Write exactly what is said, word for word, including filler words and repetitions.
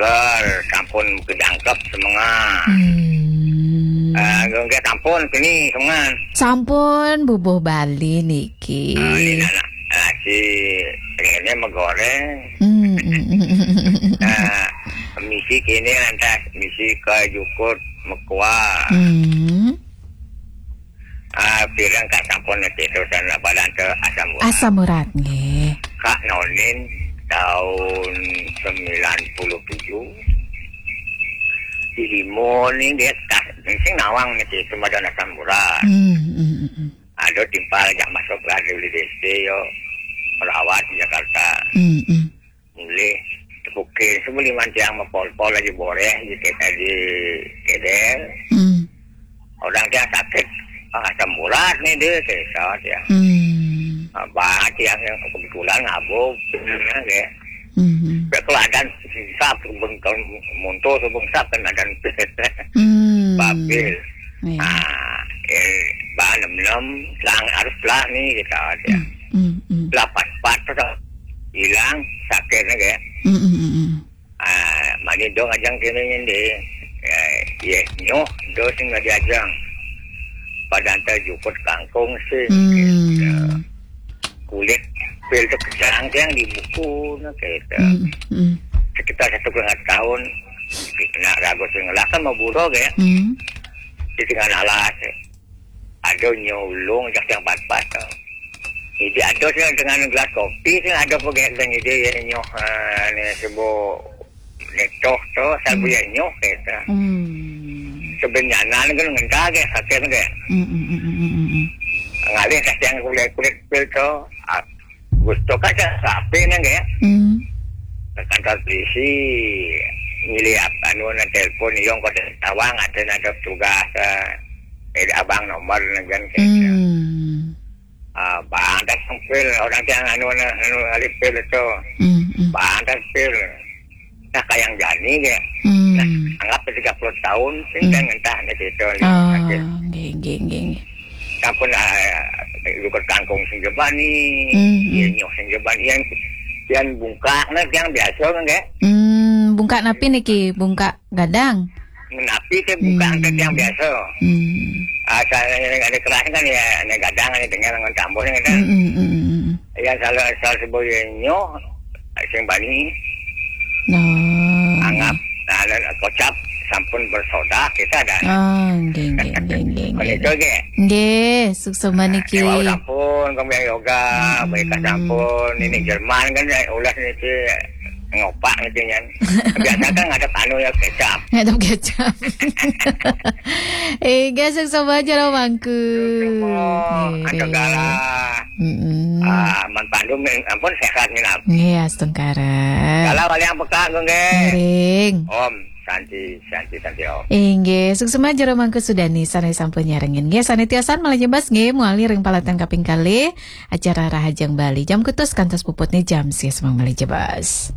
Ker, sampun kejangkep semengan. Hmm. Ah, nggih, sampun sini semengan. Sampun bubuh Bali niki. Ah, ini anak nasi, ini megoreng. Hmm, hmm, hmm, hmm, hmm, hmm. Ah, misi kini lantas, misi ke jukut mekua. Hmm. Ah, pirang kak sampun niki terusan apa dan ke asam urat. Asam urat nggih. Kak Nonin tahun sembilan puluh tujuh. Di Limun ini dia tak sing nawang niki cuma ada asam urat. Hmm, hmm, hmm, hmm. Ada timpal jak masuk ke D C yo, merawat di Jakarta. Hmm, hmm. Mulih tepukir sebeli mancang mepol-pol lagi boreh di kita di kedel. Hmm. Orang dia sakit, ah, asam urat nih dia, saya dia. Hmm. Abah dia yang kebetulan ngabuk, ya. Hmm. Dia keladan sap, bengkal muntul, sebengsap kan ada. Hmm. Babil. Iya. Ah, eh, bah nem nem, lang harus lah nih kita dia. Hmm, hmm, hmm. Lapat pat tu hilang sakit ni ke. Hmm, hmm, hmm, hmm. Ah, mani dong ajang kini ni. Ya, ya, nyoh, do sing ngajajang. Pada antar jukut kangkung sih. Hmm. Ya. Kulit pil tu kejang yang di buku, nah, kita. Hmm, hmm. Sekitar satu setengah tahun, nak ragu sing lah kan mau buruk ya. Hmm. Di tengah alas, eh. Ada nyolong jak yang pat-pat. Jadi ada sih dengan gelas kopi sih ada pegawai dan ide ya nyoh, ah, ni sebut netoh tu, sabu Hmm. ya nyoh kita. Hmm. Sebenarnya ni kan ngentah ke, sakit ke. Hmm, hmm, hmm, hmm, hmm, hmm. Ngalih dah yang kulit-kulit pil tu. Ah, gusto ka sa sapi na gaya. Hmm. Sa kantor polisi, niliap, anu na telepon, yung ko tawang, ada na ada tugas, ah, eh, abang nomor na gan kaya. Hmm. Ah, bang, tas ang pil, orang tiang anu na, anu, alipil itu. Hmm, hmm. Bang, tas pil. Nah, kayang jani gaya. Hmm. Nah, anggap tiga puluh tahun, sing Hmm. kan ngentah na dito, Oh, sakit. Nggih, nggih, nggih, nggih. Sampun, ah, lukut kangkung sing jebani, Hmm, hmm. Iya, nyoh sing jebani, yang, yang bungkak na, yang biasa kan, gaya. Hmm, bungkak napi niki? Bungkak gadang? Napi ke bungkak Hmm. angkat yang biasa. Hmm. Asal yang ada keras kan ya, ada gadang, ada dengan, dengan tambun kan. Hmm, hmm, hmm, hmm, hmm. Ya, salah, salah sebut ya nyoh, sing bani. Oh. Anggap, nah, dan kocap sampun bersoda, kita ada. Oh, nggih, nggih, nggih, nggih, Kalau nggih. itu, gaya. Nggih, suksma niki. Dewa sampun, kami yoga, Hmm. mereka sampun. Ini Hmm. Jerman kan, ya, ulah niki ngopak niki kan. Biasa kan ada anu ya kecap. Ngadep kecap. Eh, guys, yang sama aja lah mangku. Semua, Nggih. Ada gala. Mm-mm. Ah, man pandum, ampun sehat minap. Nggih, astungkara. Gala wali yang peka, nggih. Ngiring. Om, Santi, Santi, Santi, Om. Inggih, suksma jero mangku sudani sane sampun nyarengin. Nggih, sane tiosan malih jebas nggih, muali ring palatan kaping kalih acara Rahajeng Bali. Jam kutus kantos puputne jam sia semang malih jebas.